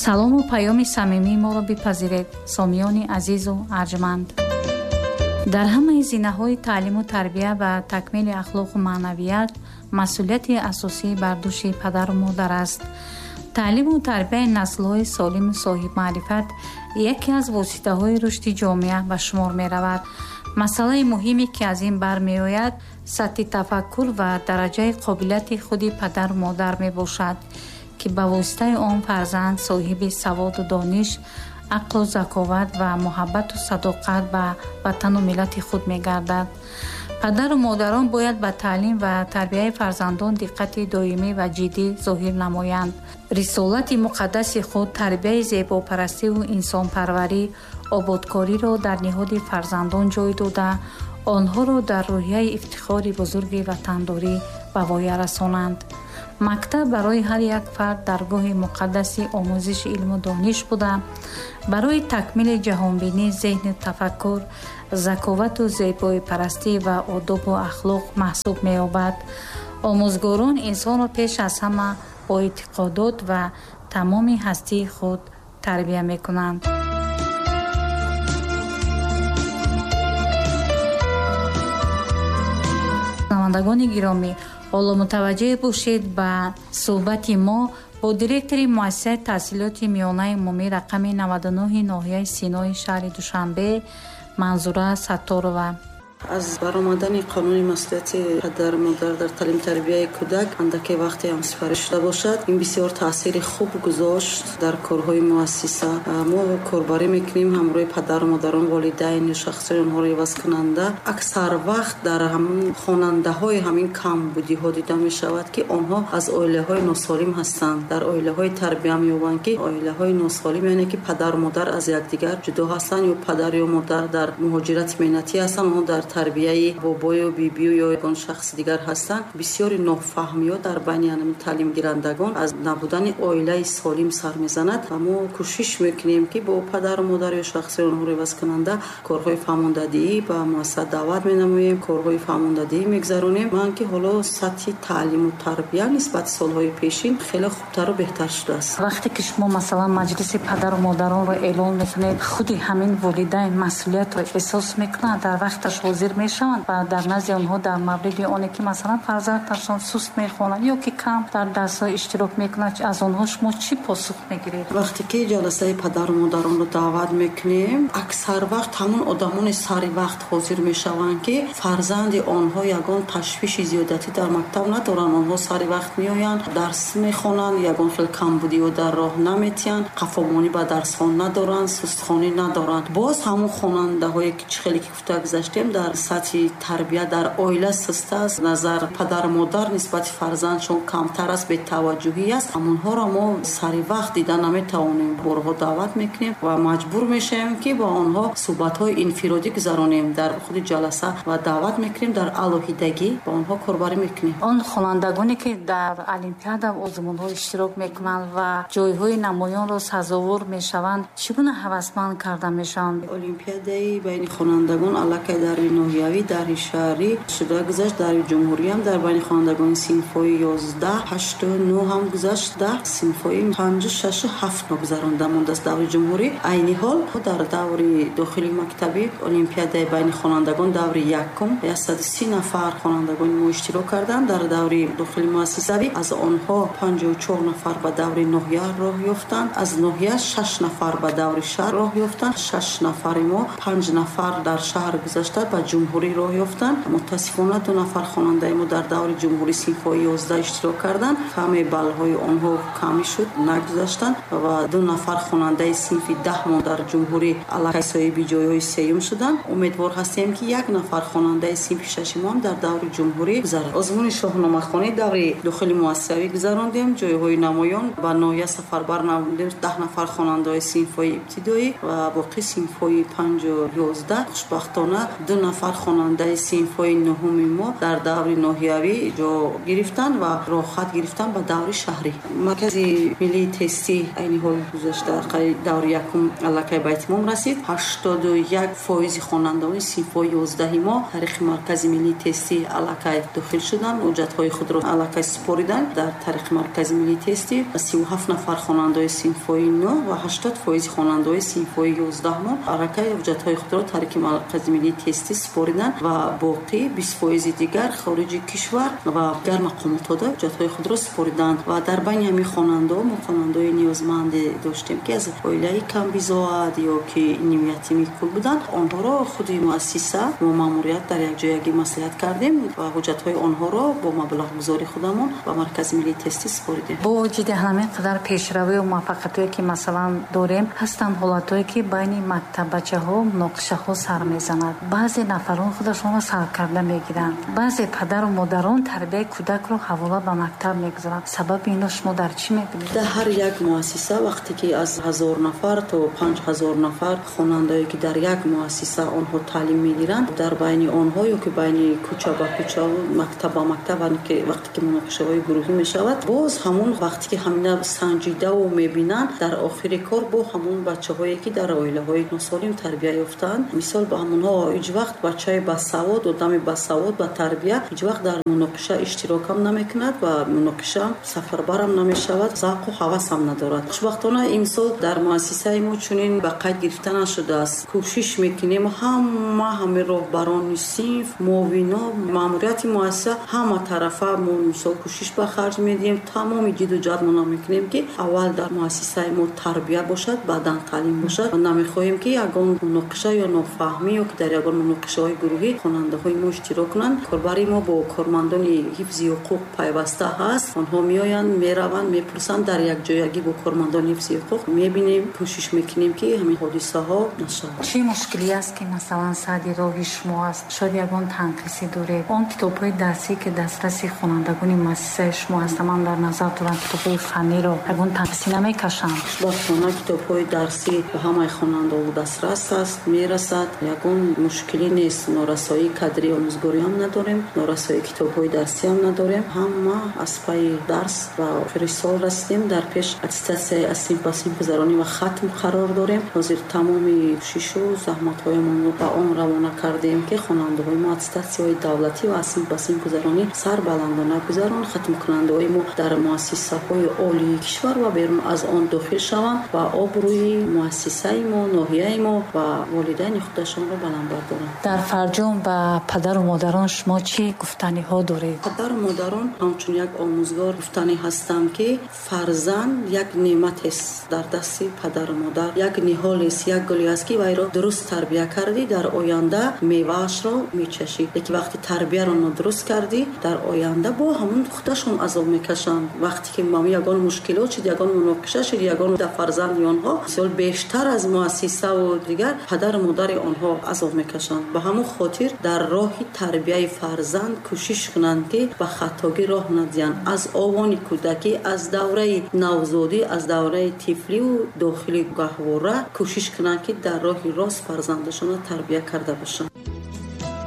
Салому паёми самимии моро бипазиред, сомиёни азизу арҷманд. Дар ҳамаи зинаҳои таълиму тарбия ва такмили ахлоқу маънавият масъулияти асосӣ бар дӯши падару модар аст. Таълиму тарбияи наслҳои солиму соҳибмаърифат яке аз воситаҳои рушди ҷомеа ба шумор меравад. Масъалаи муҳиме, ки аз ин бармеояд, сатҳи тафаккур ва дараҷаи қобилияти худи падару модар мебошад, ки ба воситаи он фарзанд соҳиби саводу дониш, ақлу заковат ва муҳаббату садоқат ба ватану миллати худ мегардад. Падару модарон бояд ба таълим ва тарбияи фарзандон диққати доимӣ ва ҷиддӣ зоҳир намоянд. Рисолати муқаддаси худ тарбияи зебопарастиву инсонпарварӣ, ободкориро дар ниҳоди фарзандон ҷой дода, онҳоро дар рӯҳияи ифтихори бузурги ватандорӣ ба воя расонанд. Мактаб барои ҳар як фард даргоҳи муқаддаси омӯзиши илму дониш буда, барои такмили ҷаҳонбинӣ, зеҳну тафаккур, заковату зебоипарастӣ ва одобу ахлоқ маҳсуб меёбад. Омӯзгорон инсонро пеш аз ҳама бо эътиқодот ва тамоми ҳастии худ тарбия мекунанд. Шунавандагони гиромӣ, ҳоло мутаваҷҷеҳ бошед ба суҳбати мо бо директори муассисаи таҳсилоти миёнаи умумӣ рақами 99 ноҳияи Синои шаҳри Душанбе Манзура Сатторова. Аз баромадани қонуни масъулияти падару модар дар таълим тарбияи кӯдак андаке вақте ҳам сипарӣ шуда бошад, ин бисёр таъсири хуб гузошт дар корҳои муассиса. Мо корбарӣ мекунем ҳамроҳи падару модарон, волидайн ё шахсони онҳоро ивазкунанда. Аксар вақт дар ҳамон хонандаҳои ҳамин камбудиҳо дида мешавад, ки онҳо аз оилаҳои носолим ҳастанд, дар оилаҳои тарбия меёбанд, ки оилаҳои носолим яъне ки падару модар аз якдигар ҷудо ҳастанд ё падар ё модар дар муҳоҷирати меҳнатӣ ҳастанд, онҳо дар тарбияи бобою бибию ё ягон шахси дигар ҳастанд. Бисёри нофаҳмиҳо дар байни ҳамин таълимгирандагон аз набудани оилаи солим сар мезанад ва мо кӯшиш мекунем, ки бо падару модар ё шахси онҳоро ивазкунанда корҳои фаҳмондадиҳӣ ба муассиса даъват менамоем, корҳои фаҳмондадиҳӣ мегузаронем. Ман ки ҳоло сатҳи таълиму тарбия нисбати солҳои пешин хеле хубтару беҳтар шудааст. Вақте ки шумо масалан маҷлиси падару модаронро эълон мекунед, худи ҳамин волидайн масъулиятро эҳсос мекунанд, дар вақташ ҳозир мешаванд ва дар назди онҳо дар мавриди оне ки масалан фарзандашон суст мехонад ё ки кам дар дарсҳо иштирок мекунад, аз онҳо шумо чӣ посух мегиред? Вақте ки ҷаласаи падару модаронро даъват мекунем, аксар вақт ҳамон одамони сари вақт ҳозир мешаванд, ки фарзанди онҳо ягон ташвиши зиёдатӣ дар мактаб надоранд. Онҳо сари вақт меоянд, дарс мехонанд, ягон хел камбудиҳо дар роҳ наметиҳанд, қафомонӣ ба дарсҳо надоранд, сустхонӣ надоранд. Боз ҳамон хонандаҳое ки чӣ хеле ки гуфта гузаштем, дар сатҳи тарбия дар оила суст аст, назар падару модар нисбати фарзандшон камтар аст, бетаваҷҷӯҳӣ аст, ҳамонҳоро мо сари вақт дида наметавонем. Борҳо даъват мекунем ва маҷбур мешавем, ки бо онҳо суҳбатҳои инфиродӣ гузаронем дар худи ҷаласа ва даъват мекунем дар алоҳидагӣ бо онҳо корбарӣ мекунем. Он хонандагоне ки дар олимпиада ва озмунҳо иштирок мекунанд ва ҷойҳои намоёнро сазовор мешаванд, чӣ гуна ҳавасманд карда мешаванд? Олимпиадаи байни хонандагон аллакай дар ноҳиявӣ, дар шаҳрӣ шуда гузашт, дар ҷумҳурӣ ҳам дар байни хонандагони синфҳои 11, 8, 9 ҳам гузашт, 10 синфҳои 5, 6, 7 гузаронда мондааст даври ҷумҳурӣ. Айни ҳол дар даври дохили мактабӣ олимпиадаи байни хонандагон даври якум 130 нафар хонандагони мо иштирок карданд. Дар даври дохили муассисавӣ аз онҳо 54 нафар ба даври ноҳия роҳ ёфтанд, аз ноҳия 6 нафар ба даври шаҳр роҳ ёфтанд, 6 нафари мо 5 нафар дар шаҳр гузашта ба ҷумҳурӣ роҳ ёфтанд. Мутаассифона 2 нафар хонандаи мо дар даври ҷумҳурӣ синфҳои 11 иштирок карданд, каме баллҳои онҳо камӣ шуд, нагузаштанд ва 2 нафар хонандаи синфи 10 мо дар ҷумҳурӣ аллакай соҳиби ҷойҳои сеюм шуданд. Умедвор ҳастем, ки 1 нафар хонандаи синфи 6 мо ҳам дар даври ҷумҳурӣ гузарад. Озмуни шоҳномахонӣ даври дохили муассисавӣ гузарондем, ҷойҳои намоён ба ноҳия сафарбар намудем 10 нафар хонандаҳои синфҳои ибтидоӣ ва боқӣ синфҳои 5 11. Хушбахтона 2 нафар нафар хонандаи синфҳои нуҳуми мо дар даври ноҳиявӣ ҷо гирифтанд ва роҳхат гирифтанд ба даври шаҳрӣ. Маркази миллии тестӣ айни ҳол гузашта даври якум аллакай ба итмом расид. 81% хонандаони синфҳои 11 мо тариқи маркази миллии тестӣ аллакай дохил шуданд, ҳуҷҷатҳои худро аллакай супориданд. Дар тариқи маркази миллии тестӣ 37 нафар хонандаои синфҳои 9 ва 80% хонандаои синфҳои 11 мо аллакай ҳуҷҷатҳои худро тариқи маркази миллии тестӣ супориданд ва боқӣ 20% дигар хориҷи кишвар ва дигар мақомотҳо ҳуҷҷатҳои худро супориданд. Ва дар байни ҳамин хонандаҳо мо хонандаҳои ниёзманде доштем, ки аз оилаи камбизоат ё ки нимятими кул буданд. Онҳоро худи муассиса мо маъмурият дар якҷоягӣ маслиҳат кардем ва ҳуҷҷатҳои онҳоро бо маблағгузори худамон ба маркази миллии тестӣ супоридем. Бо вуҷуди ҳамин қадар пешравию муваффақиятҳое ки масалан дорем, ҳастанд ҳолатҳое ки байни мактаббачаҳо муноқишаҳо сар мезанад. Баъзе нафарон худашонро саркарда мегиранд, баъзе падару модарон тарбияи кӯдакро ҳавола ба мактаб мегузоранд. Сабаби инро шумо дар чӣ мебинед? Дар ҳар як муассиса вақте ки аз 1000 нафар то 5000 нафар хонандае ки дар як муассиса онҳо таълим мегиранд, дар байни онҳо ё ки байни кӯча ба кӯча, мактаб ба мактаб, вақте ки муноқишаҳои гурӯҳӣ мешавад, боз ҳамон вақте ки ҳамина санҷидаву мебинанд, дар охири кор бо ҳамон бачаҳое ки дар оилаҳои носолим тарбия ёфтаанд, мисол ба ҳамонҳо ҳеҷ вақт бачаи басавод, одами басавод ба тарбия ҳеҷ вақт дар муноқиша иштирокам намекунад ва муноқиша сафарбарам намешавад, завқу ҳавасам надорад. Хушбахтона имсол дар муассисаи мо чунин ба қайд гирифта нашудааст. Кӯшиш мекунем ҳама ҳамин роҳбарони синф, муовино, маъмурияти муассиса ҳама тарафа мо мисол кӯшиш ба харҷ медиҳем, тамоми ҷиду ҷаҳдмона мекунем ки аввал дар муассисаи мо тарбия бошад, баъдан таълим бошад. Намехоҳем ки ягон муноқиша ё нофаҳмӣ ё ки дар ягон муноқишаҳои гурӯҳӣ хонандаҳои мо иштирок кунанд. Корбари мо бо кормандони ҳифзи ҳуқуқ пайваста ҳаст. Онҳо меоянд, мераванд, мепурсанд. Дар якҷоягӣ бо кормандони ҳифзи ҳуқуқ мебинем, кӯшиш мекунем ки ҳамин ҳодисаҳо нашавад. Чӣ мушкилӣ аст ки масалан сади роҳи шумо аст? Шояд ягон танқисӣ доред? Он китобҳои дарсӣ ки дастраси хонандагони муассисаи шумо ҳаст, ман дар назар дорам китобҳои фанниро, ягон танқисӣ намекашанд? Хушбахтона китобҳои дарсӣ ба ҳамаи хонандаҳо дастрас аст, мерасад. Ягон мушкилӣ нест. Норасоии кадрии омӯзгорӣ ҳам надорем, норасоии китобҳои дарсӣ ҳам надорем. Ҳама аз пайи дарс ба охири сол расидем. Дар пеш аттестатсияи аз синф ба синф гузаронӣ ва хатм қарор дорем. Ҳозир тамоми кӯшишу заҳматҳоямонро ба он равона кардем ки хонандаҳои мо аттестатсияҳои давлатӣ ва аз синф ба синф гузаронӣ сарбаландона гузарон. Хатмкунандаҳои мо дар муассисаҳои олии кишвар ва берун аз он дохил шаванд ва обрӯи муассисаи мо, ноҳияи мо ва волидайни худашонро баланд бардоранд. Дар фарҷом ба падару модарон шумо чӣ гуфтаниҳо доред? Падару модарон ҳамчун як омӯзгор гуфтанӣ ҳастам ки фарзанд як неъмат аст дар дасти падару модар, як ниҳол аст, як гуле аст ки вайро дуруст тарбия кардӣ, дар оянда меваашро мечашӣ. Лекин вақти тарбияро нодуруст кардӣ, дар оянда бо ҳамон худашон азоб мекашанд. Вақте ки ягон мушкилот шуд, ягон муноқиша шуд, ягон дар фарзанди онҳо мисол бештар аз муассисаву дигар падару модари онҳо азоб мекашанд. Ба ҳамон хотир дар роҳи тарбияи фарзанд кӯшиш кунанд ки ба хатогӣ роҳ надиҳанд. Аз овони кӯдакӣ, аз давраи навзодӣ, аз давраи тифливу дохили гаҳвора кӯшиш кунанд ки дар роҳи рост фарзандашонро тарбия карда бошанд.